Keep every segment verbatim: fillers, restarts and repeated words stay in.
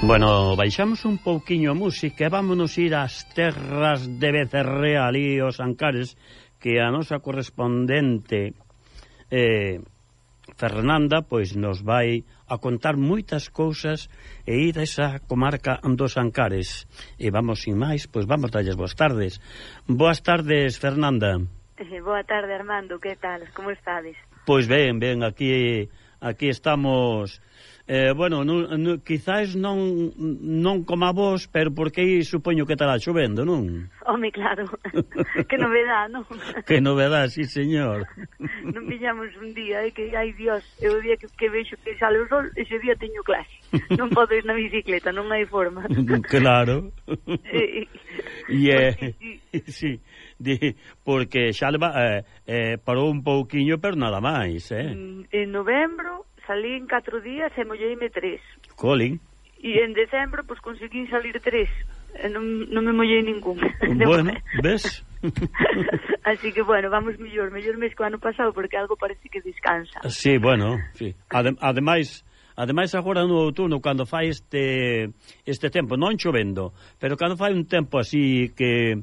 Bueno, baixamos un pouquiño a música e vámonos ir ás terras de Becerrea, ali os Ancares, que a nosa correspondente eh, Fernanda pois nos vai a contar moitas cousas e ir a esa comarca dos Ancares. E vamos sin máis, pois vamos dalles boas tardes. Boas tardes, Fernanda. Eh, boa tarde, Armando, que tal? Como estades? Pois ben, ben, aquí aquí estamos. Eh, bueno, no, no, quizás non non como a vos, pero porque aí supoño que estará chovendo, non? Home, claro, que novedad, non? Que novedad, sí, señor. Non pillamos un día, eh, que, ai Dios, é o día que, que vexo que sale o sol, ese día teño clase. Non podo ir na bicicleta, non hai forma. Claro. E yeah. Sí, de, porque xa leva, eh, eh, parou un pouquiño, pero nada máis, eh? En novembro salín catro días e molleime tres. Colin. E en decembro, pois, pues, conseguín salir tres. E non, non me mollei ningún. Bueno, ves? Así que, bueno, vamos mellor. Mellor mes que o ano pasado, porque algo parece que descansa. Sí, bueno, sí. Adem, ademais, ademais agora no outono, cando fai este este tempo, non chovendo, pero cando fai un tempo así que...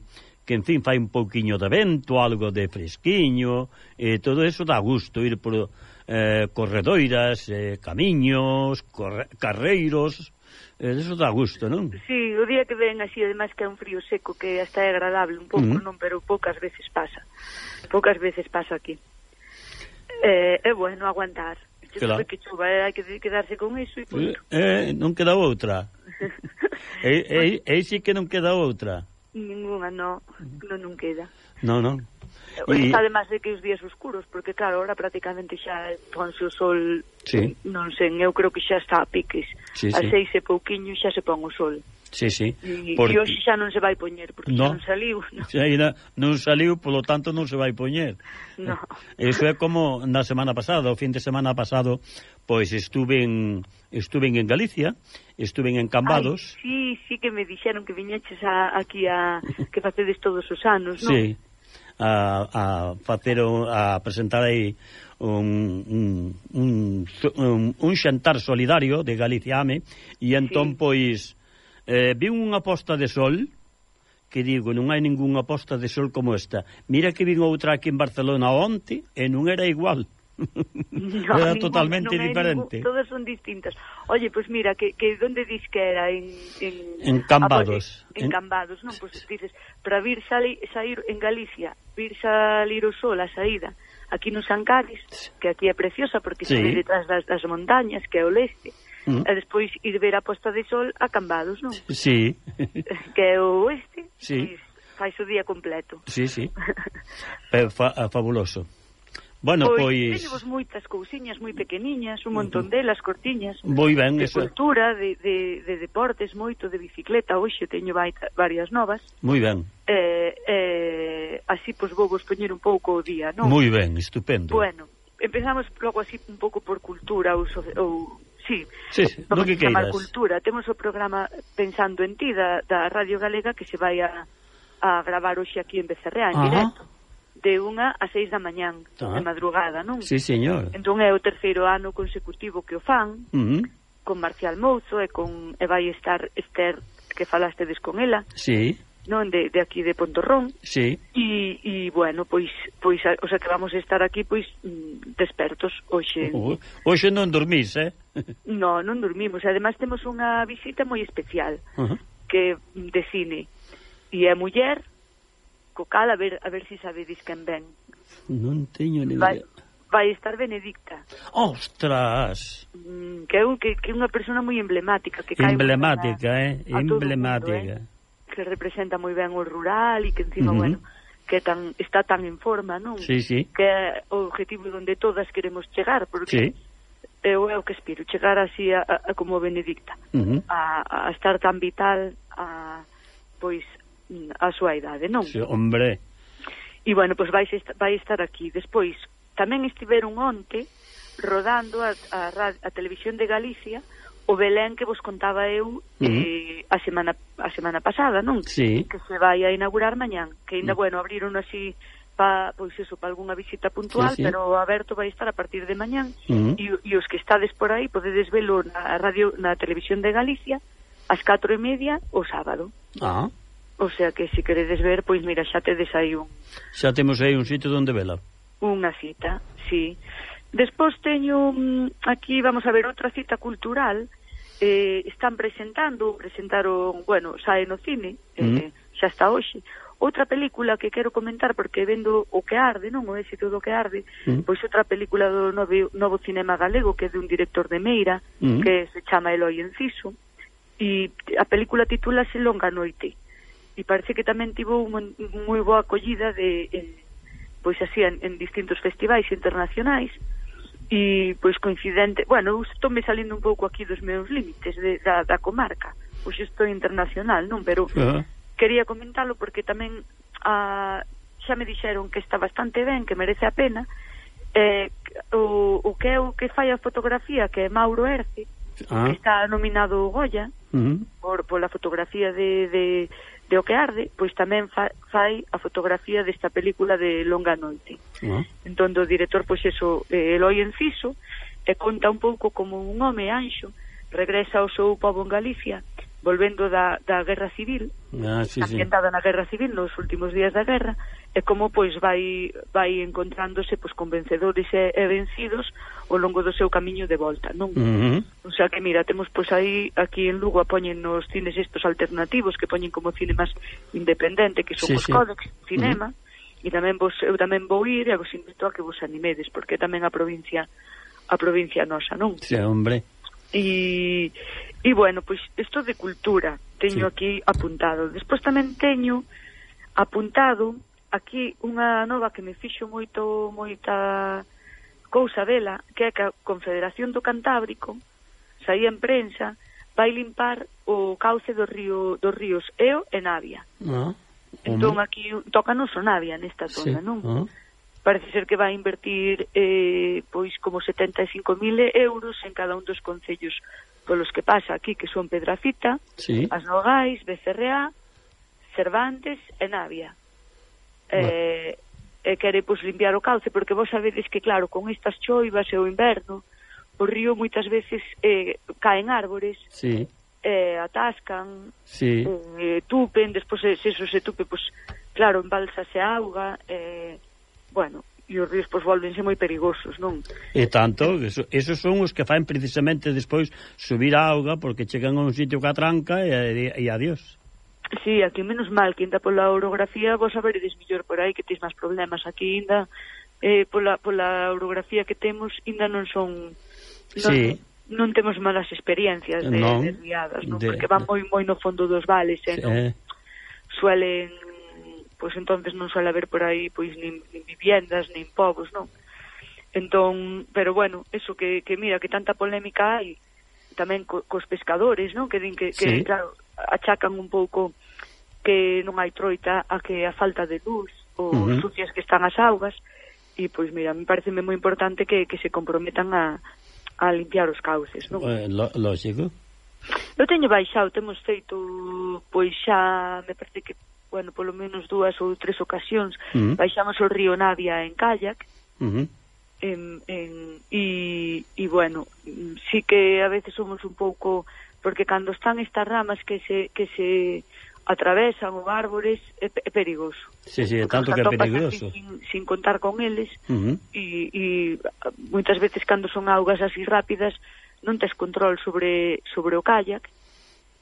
que, en fin, fai un pouquiño de vento, algo de fresquiño, e todo eso dá gusto, ir por eh, corredoiras, eh, camiños, corre, carreiros, eh, eso dá gusto, non? Sí, o día que ven así, además que é un frío seco, que hasta é agradable un pouco, uh -huh. non? Pero poucas veces pasa, poucas veces pasa aquí. Eh, é bueno aguantar, que claro. Que chuva, eh, hai que quedarse con iso e punto. Eh, non queda outra. e, e, e sí que non queda outra. Ninguna, no, non, non queda. No, non. E... Está además de que os días oscuros, porque claro, ahora prácticamente xa ponse o sol, sí. Non sei, eu creo que xa está a piques. Sí, a sí. seis e pouquiño xa se pon o sol. Sí, sí. E, porque... e hoxe xa non se vai poñer, porque no. Xa non saliu. No. Xa non saliu, polo tanto non se vai poñer. No. Eso é como na semana pasada, o fin de semana pasado, pois estuve en, estuve en Galicia, estuve en Cambados. Ai, sí, sí que me dixeron que viñeches a, aquí a que facedes todos os anos, non? Sí, a, a facer, a presentar aí un, un, un, un, un xantar solidario de Galicia Ame, e entón, sí. Pois, eh, vi unha posta de sol, que digo, non hai ningunha posta de sol como esta. Mira que vin outra aquí en Barcelona onte, e non era igual. No, era ningún, totalmente non diferente. Ningún, todas son distintas. Oye, pues mira, que, que donde dis que era? En, en, en Cambados. A, en, en Cambados, non? Pues dices, para vir salir, sair en Galicia, vir salir o sol a saída, aquí nos Ancares, que aquí é preciosa porque sí. Se ve detrás das, das montañas, que é o leste, mm. E despois ir ver a posta de sol a Cambados, non? Sí. Que é o oeste, sí. Pues, fai o día completo. Sí, sí. Fa, fabuloso. Bueno, pois... Pois... moitas cousiñas moi pequeniñas, un montón delas, cortiñas. Moi ben, de eso. De cultura, de, de, de deportes, moito, de bicicleta. Hoxe teño varias novas. Moi ben. Eh, eh, así, pois, vou vos poñer un pouco o día, non? Moi ben, estupendo. Bueno, empezamos logo así un pouco por cultura ou... ou sí, sí, sí. No que chamar queiras. Cultura. Temos o programa Pensando en Ti da, da Radio Galega que se vai a, a gravar hoxe aquí en Becerrea, en Ajá. Directo. De unha a seis da mañán, ah. De madrugada, non? Sí, señor. Entón é o terceiro ano consecutivo que o fan, uh -huh. Con Marcial Mouzo e con e vai estar Esther, que falastedes con ela. Sí. Non, de, de aquí de Pontorrón. Sí. E, e bueno, pois, pois, o sea que vamos a estar aquí, pois, despertos hoxe. Uh, hoxe non dormís, eh? No, non dormimos. Ademais temos unha visita moi especial, uh -huh. Que de cine. E é muller, co cal, a ver, a ver si sabedes quen ven. Non teño ni vai, idea. Vai estar Benedicta. Ostras! Mm, que é un, que, que unha persona moi emblemática. Que emblemática, eh? Emblemática. Mundo, eh? Que representa moi ben o rural e que encima, uh -huh. Bueno, que tan, está tan en forma, non? Sí, sí. Que é o objetivo onde todas queremos chegar, porque... Sí. Eu é o que espero, chegar así a, a, a como Benedicta. Uh -huh. a, a estar tan vital, a, pois... a súa idade, non? Sí, hombre. E, bueno, pois vai, vai estar aquí. Despois, tamén estiveron onte rodando a, a, a Televisión de Galicia o Belén que vos contaba eu uh -huh. eh, a semana a semana pasada, non? Sí. Que se vai a inaugurar mañán. Que ainda, uh -huh. Bueno, abriron así pa, pois eso, para algunha visita puntual, sí, sí. Pero aberto vai estar a partir de mañán. Uh -huh. E, e os que estades por aí podedes velo na radio, na Televisión de Galicia, ás catro e media o sábado. Ah. O sea que se queredes ver, pois mira, xa tedes aí un... Xa temos aí un sitio onde vela. Unha cita, sí. Despois teño aquí, vamos a ver, outra cita cultural. Eh, están presentando, presentaron, bueno, sae no cine, eh, mm. xa está hoxe. Outra película que quero comentar, porque vendo O que arde, non? O éxito do que arde, mm. pois outra película do novo, novo cinema galego, que é de un director de Meira, mm. que se chama Eloi Enciso, e a película titúlase Longa Noite, e parece que tamén tivo unha moi boa acollida de, en, pois así, en, en distintos festivais internacionais, e pois coincidente, bueno, estou me salindo un pouco aquí dos meus límites de, da, da comarca, pois estou internacional, non? Pero uh-huh. quería comentalo porque tamén a, xa me dixeron que está bastante ben, que merece a pena. eh, o, o que é o que fai a fotografía, que é Mauro Erce, uh-huh. que está nominado Goya uh-huh. por, por la fotografía de, de, de O que arde, pois tamén fa, fai a fotografía desta película de Longa Noite. Uh-huh. Entón, o director, pois eso, eh, Eloi Enciso, e conta un pouco como un home anxo regresa ao seu pobo en Galicia, volvendo da, da Guerra Civil, ah, sí, ambientada sí. na Guerra Civil, nos últimos días da guerra, e como pois vai vai encontrándose pois con vencedores e, e vencidos ao longo do seu camiño de volta, non? Uh-huh. O sea que mira, temos pois aí aquí en Lugo poñen nos cines estos alternativos que poñen como cine máis independente, que son sí, os sí. Códex Cinema, uh-huh. e tamén vos eu tamén vou ir e vos invito a que vos animedes, porque tamén a provincia a provincia nosa, non? Sí, hombre. E e bueno, pois isto de cultura teño sí. aquí apuntado. Despois tamén teño apuntado aquí unha nova que me fixo moito moita cousa dela, que é que a Confederación do Cantábrico saía en prensa, vai limpar o cauce do río dos ríos Eo e Navia. Ah, entón aquí tócanos o Navia nesta zona, sí. non? Ah. Parece ser que vai invertir eh, pois como setenta e cinco mil euros en cada un dos concellos polos que pasa aquí, que son Pedrafita, sí. As Nogais, Becerreá, Cervantes e Navia. Eh, e quere pois limpiar o cauce, porque vos sabedes que claro, con estas choivas e o inverno o río moitas veces eh, caen árbores, sí. eh, atascan, sí. eh, tupen, despois se, se eso se tupe, pois claro, embalsase a auga, eh, bueno, e os ríos pois volvense moi perigosos, non? E tanto, eso, esos son os que faen precisamente despois subir a auga, porque chegan a un sitio que atranca e, e, e adiós. Sí, aquí menos mal que ainda pola orografía vos saberedes millor por aí, que tes máis problemas. Aquí ainda eh, pola, pola orografía que temos ainda non son non, sí. non temos malas experiencias de, non, de riadas, non? De, porque van moi moi no fondo dos vales, eh, sí. non suelen, pois entonces non suele haber por aí pois nin, nin viviendas, nin povos, non? Entón, pero bueno, eso que, que mira, que tanta polémica hai tamén co, cos pescadores, non? Que din que, que sí. claro, achacan un pouco que non hai troita a que a falta de luz ou uh-huh. sucias que están as augas, e pois mira, me parece moi importante que, que se comprometan a, a limpiar os cauces, non? Eh, lógico. Eu teño baixado, temos feito pois xa, me parece que bueno, polo menos dúas ou tres ocasións uh-huh. baixamos o río Navia en kayak uh-huh. en, en, e, e bueno, sí que a veces somos un pouco, porque cando están estas ramas que se, que se atravesan ou árbores é, é perigoso. Sí, sí, é tanto que é peligroso. Sin, sin contar con eles uh-huh. e, e moitas veces cando son augas así rápidas non tes control sobre, sobre o kayak.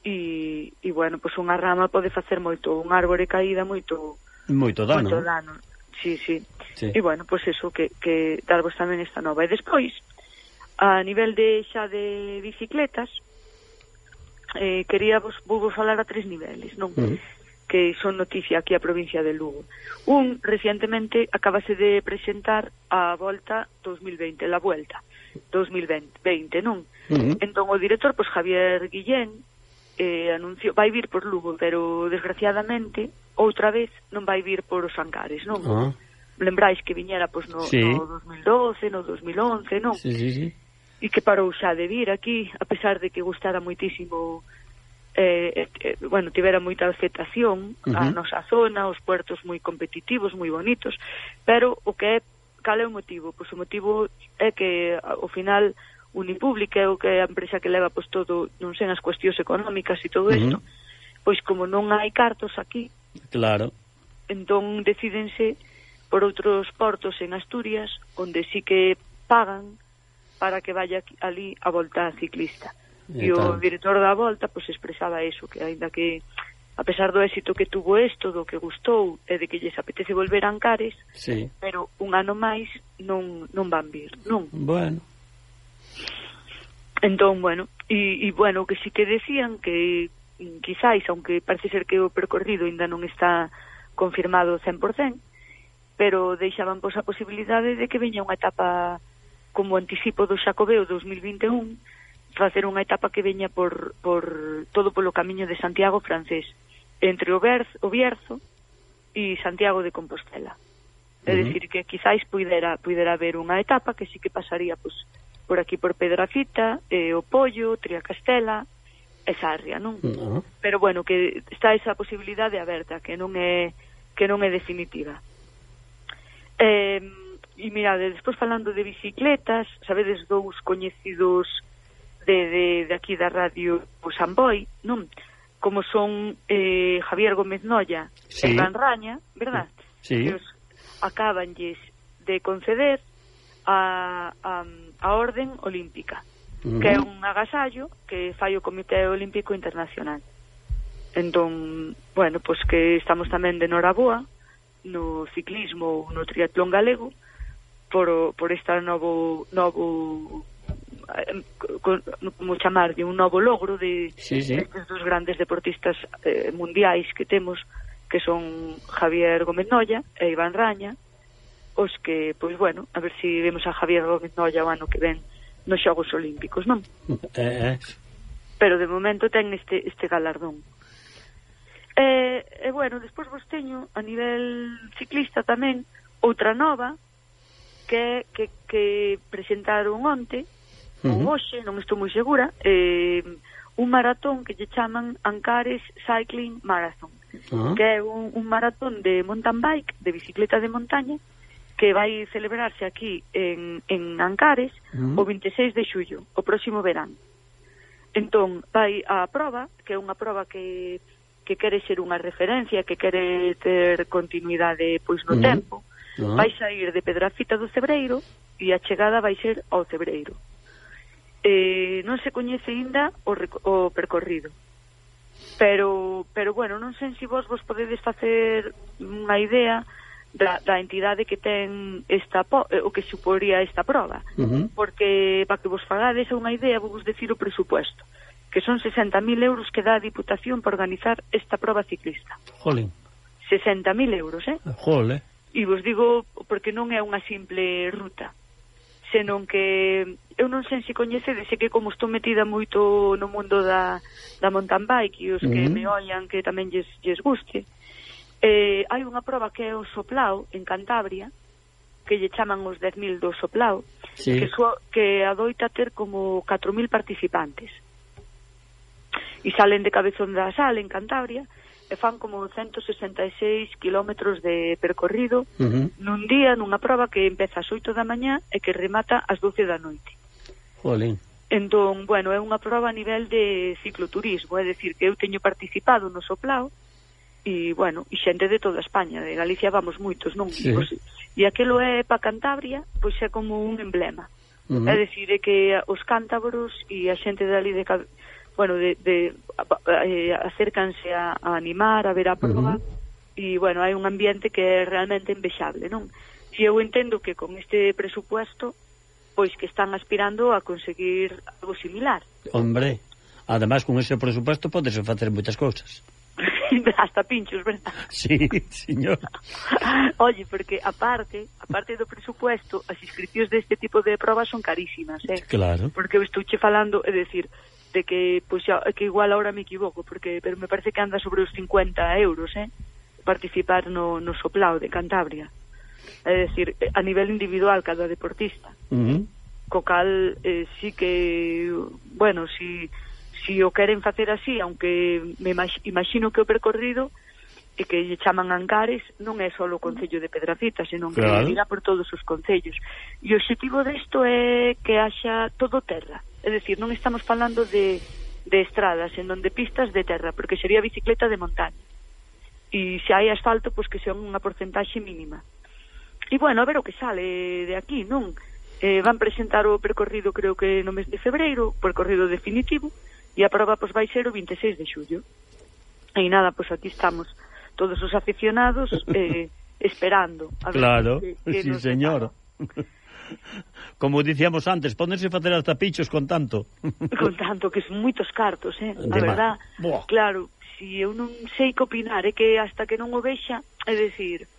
E, e bueno, pois unha rama pode facer moito, un árbore caída moito moito dano, moito dano. Sí, sí, sí. E bueno, pois eso que, que darvos tamén esta nova. E despois a nivel de xa de bicicletas eh, quería vos, vos falar a tres niveles, non? Uh-huh. Que son noticia aquí a provincia de Lugo. Un, recientemente acabase de presentar a Volta dos mil veinte, la Vuelta dos mil veinte, non? Uh-huh. Entón o director, pois Javier Guillén eh, anunció, vai vir por Lugo, pero desgraciadamente outra vez non vai vir por os Ancares, non? Uh-huh. Lembrais que viñera pois no, sí. no dos mil doce, no dos mil once, non? Sí, sí, sí. E que parou xa de vir aquí, a pesar de que gustara moitísimo, eh, eh, bueno, tivera moita aceptación uh-huh. a nosa zona, os puertos moi competitivos, moi bonitos, pero o que é, cal é o motivo? Pois o motivo é que ao final Unipublic, que é o que é a empresa que leva pois todo, non sei, as cuestións económicas e todo isto, uh-huh. pois como non hai cartos aquí, claro, entón decídense por outros portos en Asturias, onde sí que pagan para que vaya ali a volta ciclista. E, e o director da volta pois expresaba eso, que aínda que a pesar do éxito que tuvo isto, do que gustou e de que lles apetece volver a Ancares, sí. pero un ano máis non, non van vir, non? Bueno. Entón, bueno, e, e bueno, que sí que decían que quizáis, aunque parece ser que o percorrido ainda non está confirmado cen por cen, pero deixaban pois a posibilidade de que veña unha etapa como anticipo do Xacobeo dos mil vinte e un, facer unha etapa que veña por, por todo polo camiño de Santiago francés, entre o, Berz, o Bierzo e Santiago de Compostela. É uh-huh. dicir, que quizáis puidera, puidera haber unha etapa que sí que pasaría pois, por aquí por Pedrafita, eh, o Pollo, Triacastela e Sarria, non? Uh-huh. Pero bueno, que está esa posibilidade aberta, que non é que non é definitiva. Eh, e mirade, despois falando de bicicletas, sabedes dous coñecidos de, de, de aquí da radio o Samboy, non? Como son eh, Javier Gómez Noya sí. e Iván Raña, verdad? Sí. Que os acabanlles de conceder a, a, a Orden Olímpica, uh-huh. que é un agasallo que fai o Comité Olímpico Internacional. Entón, bueno, pois que estamos tamén de noraboa no ciclismo ou no triatlón galego por, por esta novo novo como chamarlle, un novo logro de sí, sí. estes dos grandes deportistas eh, mundiais que temos, que son Javier Gómez Noya e Iván Raña, os que, pois bueno, a ver se si vemos a Javier Gómez Noya o ano que ven nos Xogos Olímpicos, non? Eh, eh. Pero de momento ten este, este galardón. E, e bueno, despois vos teño a nivel ciclista tamén outra nova que, que, que presentaron onte ou uh-huh. hoxe, non estou moi segura, eh, un maratón que lle chaman Ancares Cycling Marathon, uh-huh. que é un, un maratón de mountain bike, de bicicleta de montaña, que vai celebrarse aquí en, en Ancares uh-huh. o vinte e seis de xullo, o próximo verán. Entón, vai a prova, que é unha prova que, que quere ser unha referencia, que quere ter continuidade pois no uh-huh. tempo, uh-huh. vai sair de Pedrafita do Cebreiro e a chegada vai ser ao Cebreiro. Eh, non se coñece ainda o, o percorrido, pero, pero bueno, non sei se vos vos podedes facer unha idea da, da entidade que ten esta o que suporía esta prova, uh-huh. porque para que vos fagades unha idea vou vos decir o presupuesto, que son sesenta mil euros que dá a Diputación para organizar esta prova ciclista. Jolín. sesenta mil euros, eh? Jole. E vos digo porque non é unha simple ruta, senón que eu non sei se coñecedes, que como estou metida moito no mundo da, da mountain bike e os que uh-huh. me ollan que tamén lles, lles guste, eh, hai unha prova que é o Soplao en Cantabria, que lle chaman os dez mil do Soplao, sí. que, so, que adoita ter como catro mil participantes e salen de Cabezón da Sal en Cantabria e fan como ciento sesenta e seis kilómetros de percorrido uh-huh. nun día, nunha prova que empeza ás oito da mañá e que remata ás doce da noite. Jolín. Entón, bueno, é unha prova a nivel de cicloturismo, é dicir, que eu teño participado no Soplao e, bueno, e xente de toda España, de Galicia vamos moitos, non? Sí. Pois, e aquelo é para Cantabria, pois é como un emblema. Uh-huh. É dicir, é que os cántabros e a xente dali de bueno, de, de eh, acércanse a, a animar, a ver a prova, uh-huh. e, bueno, hai un ambiente que é realmente envexable, non? Si eu entendo que con este presupuesto, pois que están aspirando a conseguir algo similar. Hombre, además con ese presupuesto podes facer moitas cousas. Hasta pinchos, verdad? Sí, señor. Oye, porque aparte, aparte do presupuesto, as inscripcións deste tipo de probas son carísimas, eh? Claro. Porque eu estouche falando, é dicir, de que, pois, que igual ahora me equivoco, porque pero me parece que anda sobre os cincuenta euros, eh? Participar no, no Soplao de Cantabria. É dicir, a nivel individual cada deportista. Uh-huh. Co cal, eh, sí que, bueno, si, si o queren facer así, aunque me imagino que o percorrido e que lle chaman Ancares, non é só o Concello de Pedrafita, senón que claro. irá por todos os concellos. E o objetivo desto é que haxa todo terra, é dicir, non estamos falando de, de estradas, senón de pistas de terra, porque sería bicicleta de montaña. E se hai asfalto, pois que sea unha porcentaxe mínima. E bueno, a ver o que sale de aquí, non? Eh, van presentar o percorrido, creo que no mes de febreiro, o percorrido definitivo, e a prova pois vai ser o vinte e seis de xullo. E nada, pois aquí estamos todos os aficionados eh, esperando a ver claro, que, que sí señor. Como dicíamos antes, ponerse facer as tapichos con tanto. Con tanto, que son moitos cartos, eh? A verdad, Buah. claro, si eu non sei que opinar, é que hasta que non o vexa, é dicir,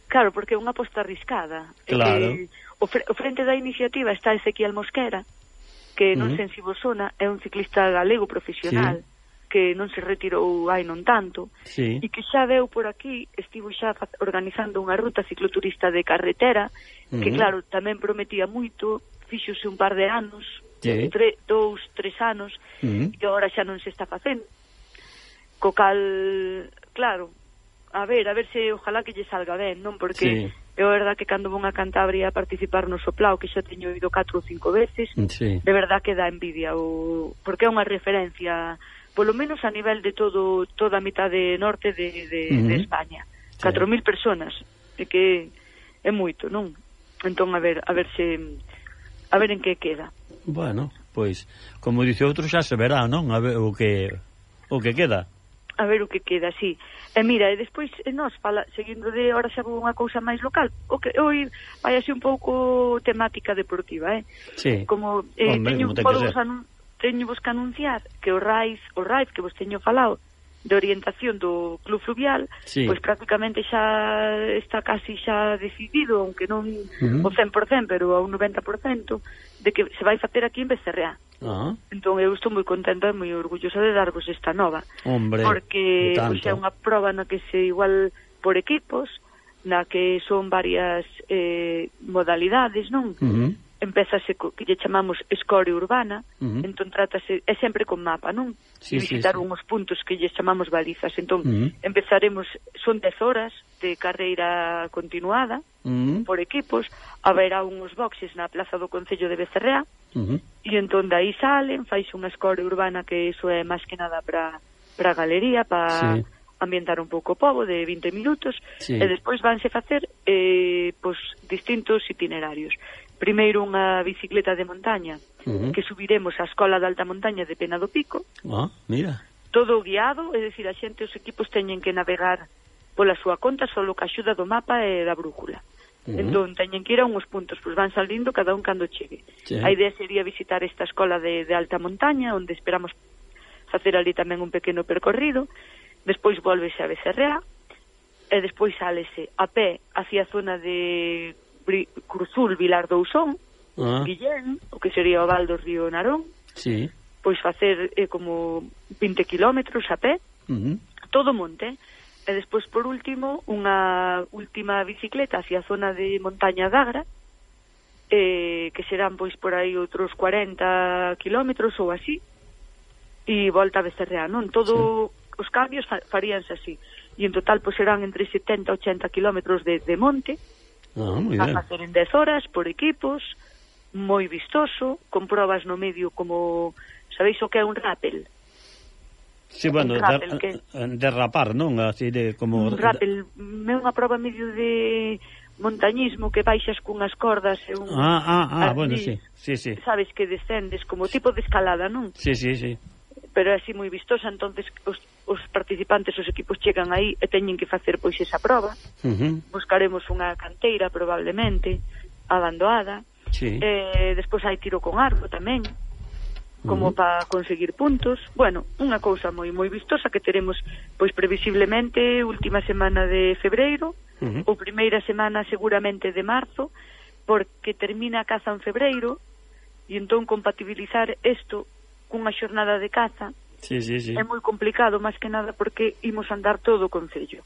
claro, porque é unha aposta arriscada. Claro. É que o, fre o frente da iniciativa está Ezequiel Mosquera, que non uh -huh. sei se vos sona, é un ciclista galego profesional, sí. que non se retirou hai non tanto, sí. e que xa veu por aquí, estivo xa organizando unha ruta cicloturista de carretera, uh-huh. que claro, tamén prometía moito, fíxose un par de anos, sí. tre, dous, tres anos, uh-huh. e agora xa non se está facendo. Co cal, claro, a ver, a ver se ojalá que lle salga ben, non? Porque sí. é verdad que cando vou a Cantabria a participar no Soplao, que xa teño ido catro ou cinco veces, sí. de verdad que dá envidia, o, porque é unha referencia, polo menos a nivel de todo toda a mitade norte de, de, uh-huh. de España. Sí. catro mil personas, é que é moito, non? Entón, a ver, a ver se a ver en que queda. Bueno, pois, como dice outro, xa se verá, non? A ver o que o que queda. A ver o que queda, sí. E mira, e despois nós fala, seguindo de ahora xa vou unha cousa máis local, o que hoy vai así un pouco temática deportiva, eh? Sí. Como eh, Hombre, teño como ten podo que vos anun teño vos que anunciar que o RAIF, o RAIF que vos teño falado de orientación do Club Fluvial, sí. pois prácticamente xa está casi xa decidido, aunque non uh-huh. o cen por cen, pero a un noventa por cento, de que se vai facer aquí en Becerreá. Uh-huh. Entón eu estou moi contenta e moi orgullosa de darvos esta nova. Hombre, porque pois, é unha proba na que se igual por equipos, na que son varias eh, modalidades, non? Uh-huh. Empezase co que lle chamamos escoria urbana, uh-huh. entón trátase, é sempre con mapa, non? Sí, visitar sí, sí. unhos puntos que lle chamamos balizas, entón uh-huh. empezaremos, son dez horas de carreira continuada, uh-huh. por equipos, haberá unhos boxes na plaza do Concello de Becerreá, uh-huh. e entón dai salen, faise unha escoria urbana que iso é máis que nada para para a galería, para sí. ambientar un pouco o pobo de vinte minutos, sí. e despois vanse facer eh, pois, distintos itinerarios. Primeiro unha bicicleta de montaña, uh-huh. que subiremos á Escola de Alta Montaña de Pena do Pico. Ah, mira. Todo guiado, é dicir, a xente, os equipos teñen que navegar pola súa conta solo ca axuda do mapa e da brújula. Uh-huh. Entón, teñen que ir a unhos puntos, pois van salindo cada un cando chegue. Sí. A idea sería visitar esta escola de, de alta montaña, onde esperamos facer ali tamén un pequeno percorrido, despois volvese a Becerreá, e despois sálese a pé hacia a zona de Cruzul, Vilar do Ousón, ah. Guillén, o que sería o val do río Narón, sí. pois facer eh, como vinte kilómetros a pé, uh-huh. todo monte, e despois por último unha última bicicleta hacia a zona de Montaña d'Agra, eh, que serán pois por aí outros cuarenta kilómetros ou así, e volta a Becerreá, non? Todo sí. os cambios faríanse así, e en total pois serán entre setenta e ochenta kilómetros de, de monte, ah, moi a ben. facer en dez horas por equipos, moi vistoso, con probas no medio como, sabéis o que é un rappel? Sí, bueno, der, que... derrapar, non? Así de como un rappel, é unha proba medio de montañismo que baixas cunhas cordas e un Ah, ah, ah, así, bueno, sí. Sí, sí. Sabes que descendes como tipo de escalada, non? Sí, sí, sí. Pero é así moi vistosa, entonces os, os participantes, os equipos chegan aí e teñen que facer pois esa proba. Uh-huh. Buscaremos unha canteira probablemente abandoada. Sí. Eh, despois hai tiro con arco tamén, como uh-huh. para conseguir puntos. Bueno, unha cousa moi moi vistosa que teremos pois previsiblemente última semana de febreiro, uh-huh. ou primeira semana seguramente de marzo, porque termina a caza en febreiro e entón compatibilizar isto cunha xornada de caza sí, sí, sí. é moi complicado, máis que nada porque imos andar todo o concello.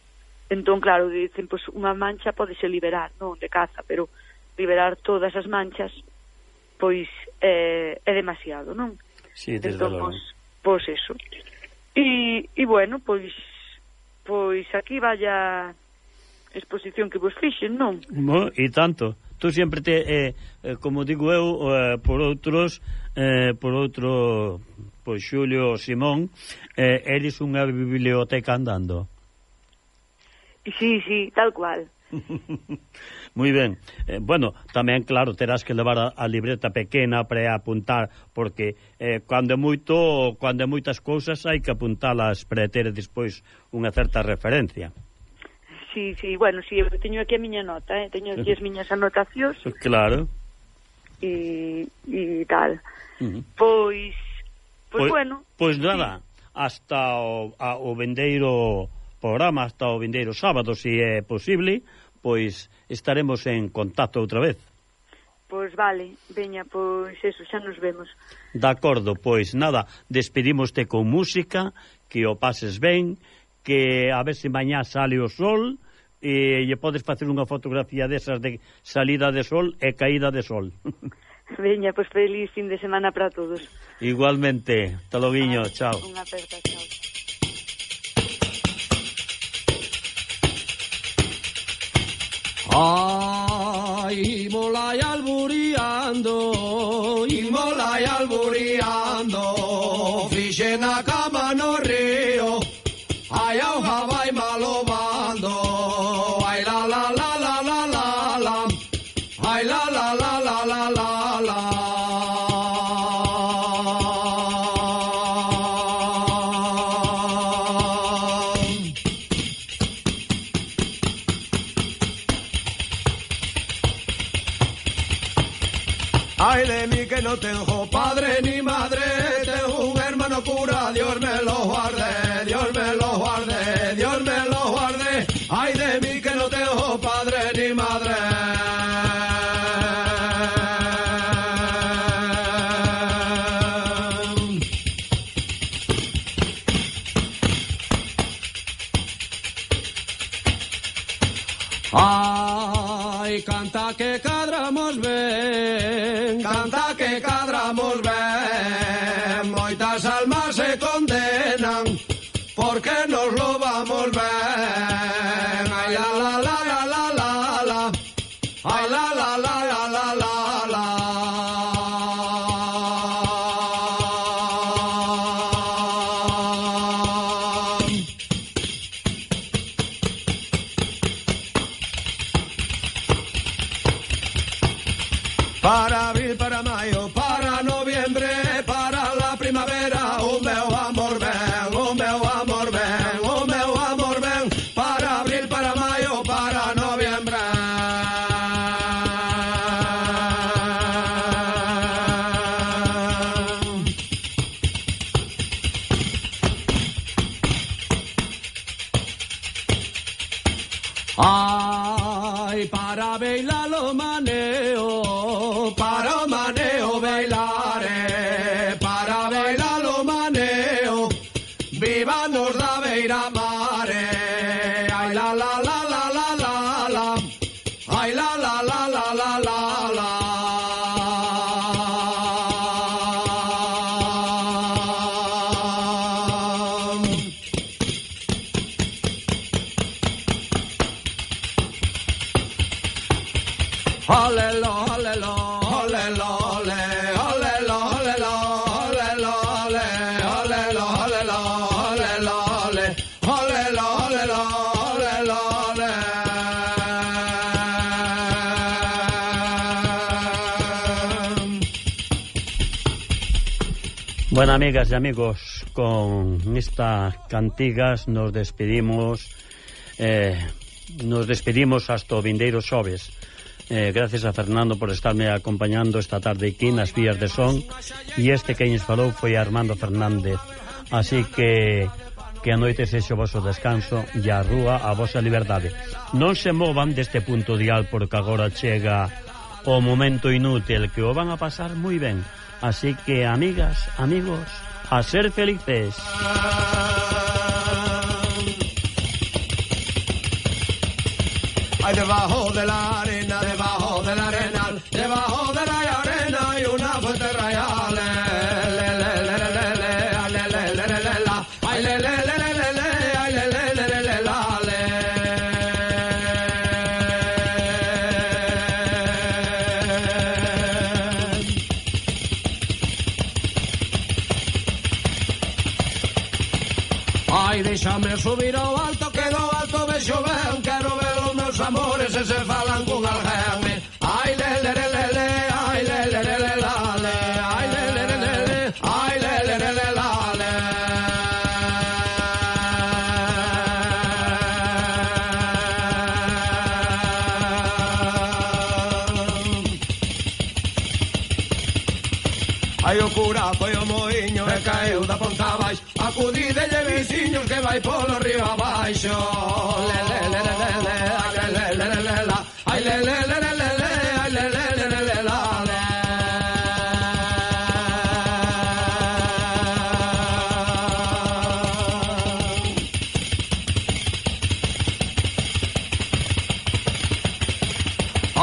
Entón, claro, dicen, pois unha mancha podese liberar, non de caza, pero liberar todas as manchas pois é, é demasiado, non? Sí, desde entón, logo. Pois, pois eso. E, e bueno, pois Pois aquí vaya exposición que vos fixen, non? Mo, e tanto. Tú sempre te, eh, eh, como digo eu, eh, por outros, eh, por outro, pois Xulio Simón, eh, eres unha biblioteca andando. Sí, sí, tal cual. Moi ben. Eh, bueno, tamén, claro, terás que levar a, a libreta pequena para apuntar, porque eh, cando é moito, cando é moitas cousas hai que apuntalas para ter despois unha certa referencia. Sí, sí, bueno, sí, eu teño aquí a miña nota, eh? Teño aquí as miñas anotacións. Claro. E, e tal. Uh-huh. Pois, pois, pois, bueno. Pois nada, sí. Hasta o, a, o vendeiro programa, hasta o vendeiro sábado, se é posible, pois estaremos en contacto outra vez. Pois vale, veña, pois eso, xa nos vemos. De acordo, pois nada, despedimoste con música, que o pases ben, que a ver se mañá sale o sol e lle podes facer unha fotografía desas de salida de sol e caída de sol. Veña, pois feliz fin de semana para todos. Igualmente, hasta loguiño, ah, chao. Unha aperta, chao. Ay, molay alburiando, y molay alburiando, fixe na cama no río, ay, auja vai malobando, ay, la, la, la, la, la, la, la, ay, la, la, la, la, la, la, la. Ay de mí que no tengo padre ni madre, tengo un hermano cura, Dios me lo guarde, Dios me lo guarde, Dios me lo guarde. Ay de mí que no tengo padre ni madre. Ay, canta que cadramos ben, canta que cadramos ben, moitas almas se condenan, porque nos lo vamos ben. Ay, la, la, la, la, la, la, la, ay, la, la, la, la, la, la, la. Para abril, para mayo, para noviembre, para la primavera, un meu amor ven, un meu amor ven, un meu amor ven, para abril, para mayo, para noviembre. Ay, para bailar lo maneo, para maneo bailare, para bailar lo maneo, viva nos da beira mare. Ay, la, la, la, la, la, la, la, ay, la, la, la, la, la, la, la. Olelo, olelo, olelo, ole, olelo, olelo, olelo, ole, olelo, olelo, olelo, ole, olelo, olelo, olelo, ole. Bueno, amigas y amigos, con estas cantigas nos despedimos, eh, nos despedimos hasta o vindeiro xoves. Eh, gracias a Fernando por estarme acompañando esta tarde aquí nas vías de son, e este que nos falou foi Armando Fernández. Así que que a noite sexe o vosso descanso e a rúa a vosa liberdade. Non se movan deste punto dial, porque agora chega o momento inútil, que o van a pasar moi ben. Así que, amigas, amigos, a ser felices. Ay, debajo de la arena, debajo del arenal, debajo de la arena hay una fuente real. Le, le, le, le, le, le, le, le, le, le, le, la. Ay, le, le, le, le, le, ay, le, le, le, le, le, la. Ai, deixame subir ao alto, que do alto vexo ben, quero ver os meus amores e se falan con alguén. Ai, le, le, le, le, le, ai, le, le, le, le, la, le, ai, le, le, le, le, le, ai, le, le, le, le, la, le. Ai, o cura foi o moinho e caeu da ponta abaixo. Acudidelle veciños que vai polo río abaixo. Le, le, le, le, le, le, ai, le, le, le, le, le, la, ai, le, le, le, le, le, le, ai, le, le, le, le, le, la, le.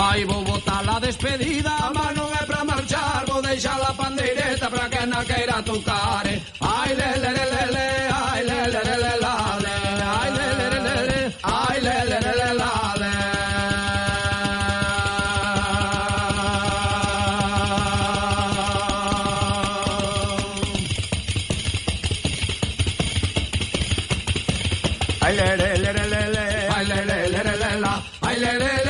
Ai, vou botar la despedida, a mano é pra marchar, vou deixar la pandeireta pra que na queira tocar. Ai, le, le, le, le, le, ai, le, le, le, le, la, le, ai, le, le, le, le, le, ai, le, le, le, le, la, le. Ai, le, le, le, le, le, ai, le, le, le, le, le, la, ai, le, le,